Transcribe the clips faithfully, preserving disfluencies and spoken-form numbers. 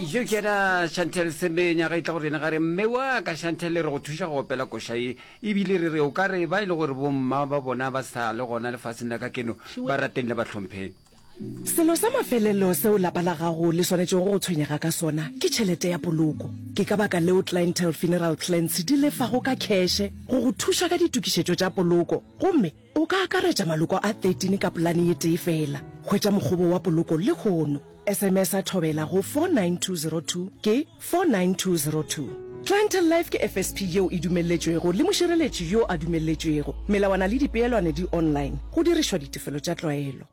Yo ke yena Chantel Semenya ga e tla go rena ga re mme wa ka Chantel re go thuša go opela koša ye ebile re re o ka re ba e le gore bomma ba bona ba sa le gona lefaseng la ka keno ba rateng le ba hlompheng. Selo sa mafelelo seo lapa la gago le swanetšego go tshwenyega ka sona ke tšhelete ya poloko. Ke ka baka leo Clientele Funeral Plans di lefago ka kheše go go thuša ka ditokišetšo tša poloko, gomme o ka akaretša maloko a thirteen ka polane ye tee feela. Hwetša mokgobo wa poloko lehono. S M S a Thobela go four nine two zero two ke four nine two zero two. Clientele Life ke F S P yeo e dumelletšwego le mošireletši yo a dumelletšwego. Melawana le dipeelwane di online, go dirišwa ditefelo tša tlwaelo.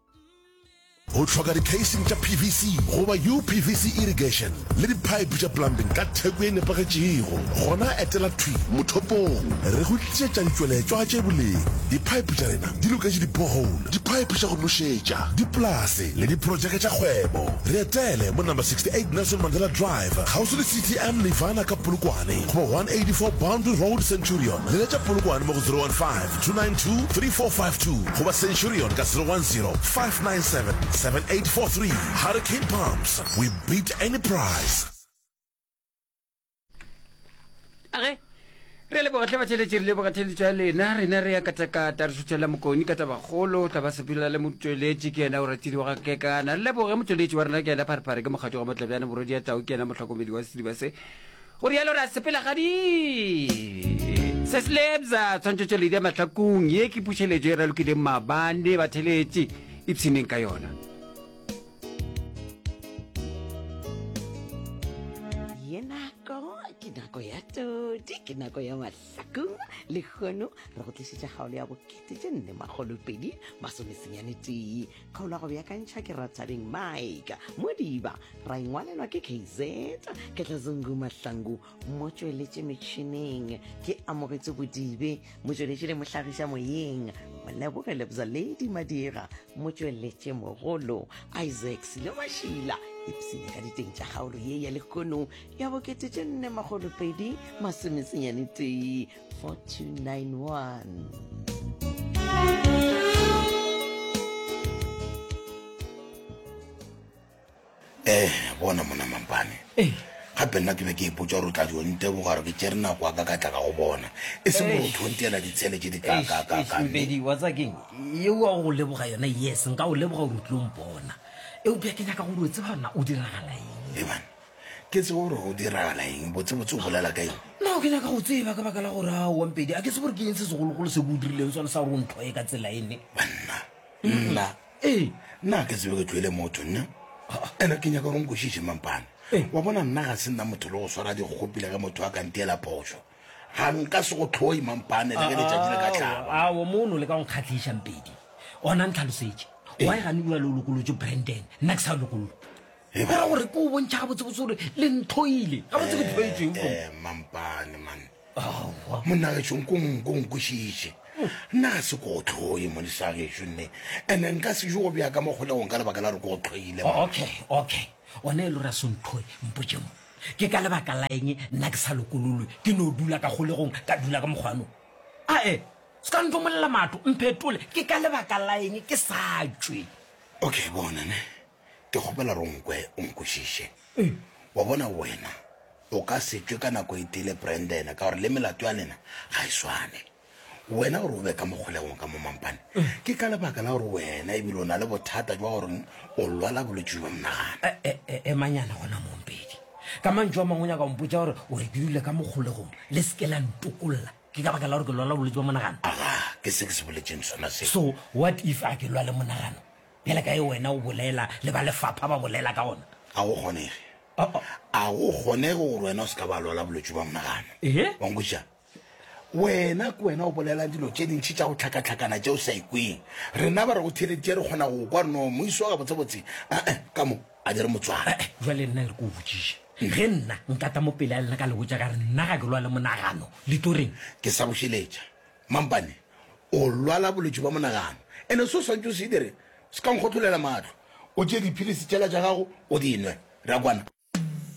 O hloka di-casing tša P V C goba U P V C irrigation le di-pipe tša plumbing ka theko e nepagetšego? Gona etela thwi mothopong. Re go tlišetša ditšweletšwa tše boleng. Di-pipe tša rena di loketše di-borehole, di-pipe tša go nošetša, dipolase le diprojeke tša kgwebo. Re etele mo number sixty-eight Nelson Mandela Drive, kgauswi le C T M Nirvana ka Polokwane, goba one eighty-four Boundary Road, Centurion. Leletša Polokwane mo go zero one five, two nine two, three four five two goba Centurion ka zero one zero, five nine seven, seven eight four three. Hurricane Pumps, we beat any price. Age re leboga tle batheletši, re leboga theletšo ya lena. Rena re ya katakata, re šuthela Mokoni ka tabakgolo, tla ba sepela le motšweletši, ke yena o ratile wa ga kekana. Re leboge motšweletši wa rena, ke yena Pharephare, ke mokgadi wa Motlabjane morwedi ya tau, ke yena mohlokomedi wa sediba se. Go rialo re a sepela gadi se se lebza tshwantšhetšo ledi ya mahlakong. Ye ke pušeletšo e ralokileng maabane, batheletši ipshineng ka yona. Ye nako ke nako ya todi, ke nako ya mahlakong. Lehono re go tlišetša kgaolo ya bokete tše nne makgolo pedi masomesenyane tee. Kgaolo ya go beakantšha ke Ratabeng Mike Modiba, ra ingwalelwa ke K Z Ketlazungu Mahlangu. Motšweletše metšhineng ke Amogetse Bodibe, motšweletši le mohlagiša moyeng Moleboge Lebza Lady Madira, motšweletše mogolo Isaac Sile Mašila. Ipsene ka diteng tša kgaolo ye ya lehono ya bokete tše nne makgolo pedi masomesenyane tee, four two nine one. Eh, bona mona mampane. Gape nna ke be ke ipotša gore o tla dio nteboga gore ke tšere nako ya ka ka tla ka go bona, e seng gore o tho ntiela ditshele tše di kaakaakaa. Mpedi, wa tseba keng yeo wa go leboga yona? Yes, nka o leboga gore o tlilo mpona, eupša ke nyaka gore o tseba na o diragala eng. Eban, ke tsebe gore go diragala eng? Botsebotse o bolela ka eng? No, ke nyaka go tseba ka baka la gore aowa Mpedi, a ke tsebe gore ke eng se segologolo se ke o dirileng sone sa gore o nthoye ka tsela ene. Banna, nna? Ee. Nna ke tsebe ke tloele motho nna. Ene ke nyaka gore nkwešiše mampane. Wa bona, nna ga se nna motho le go swara dikgopi le ge motho a ka ntiela phošo. Ga nka se go tlhoi mampane le ge letšatši le ka hlaba. Aowa, mono le ka go nkgatlhiša Mpedi. Ona ntlhalosetše, why gane bjale o lokolotše Brandon, nna ke sa lokollwa? Go ra gore ke o bontšha gabotsebotse gore le nthoile gabotse, ke tlhoetsweng? Eh, mampane man, monna gešo, nko nko nkwešiše. Nna ga se ko go tlhoe monisa gešo nne, ene nka se jo go bea ka mo kgolegong ka lebaka la gore ke go tlhoile. Okay okay one e le gore a se nthoe, mpotse mo, ke ka lebaka la eng nna ke sa lokololwe, ke no dula ka kgolegong, ka dula ka mokgwano? Ae, se ka ntomolela matho, mphetole, ke ka lebaka la eng ke sa tšwe? Okay, bona ne, ke kgopela gore o nkwe, o nkwešiše. Wa bona, wena o ka se tšwe ka nako e tee le Brandon ka gore le melato ya lena ga e swane. Wena gore o be ka mo kgolegong ka mo mampane ke ka lebaka la gore wena ebile o na le bothata jwa gore o lwala bolwetse jwa monagano. Emanyana gona mompedi, ka mantšu a mangwe o nyaka go mpotša gore o re ke dule ka mo kgolegong, le seke la ntokolla, ke ka baka la gore ke lwala bolwetse bja monagano? Aga, ke se ke se boletseng sona se. So what if a ke lwale monagano bjale ka e wena o bolela le ba lefapha ba bolela ka gona? A go kgonege, a go kgonege gore wena o se ka ba lwala bolwetse bja monagano. Ee. Wa nkwešiša? Wena ke wena o bolela dilo tše dintšhi tša go tlhakatlhakana tše o sa ikweng. Rena ba re go theleditše, re kgona go kwa no moiso wa gabotsebotse ae ka mo a dire motswala. Jale nna e re ke o botšiše, ge nna nkata mo pele a lena ka le botša ka re nna ga ke lwale monagano, le tlo reng? Ke sa bošeletša mampane, o lwala bolwetši bja monagano, ene se o swantše o se dire, se ka nkgotlolela mahlo, o tšee diphilisi tšela tša gago o di nwe. Re a kwana?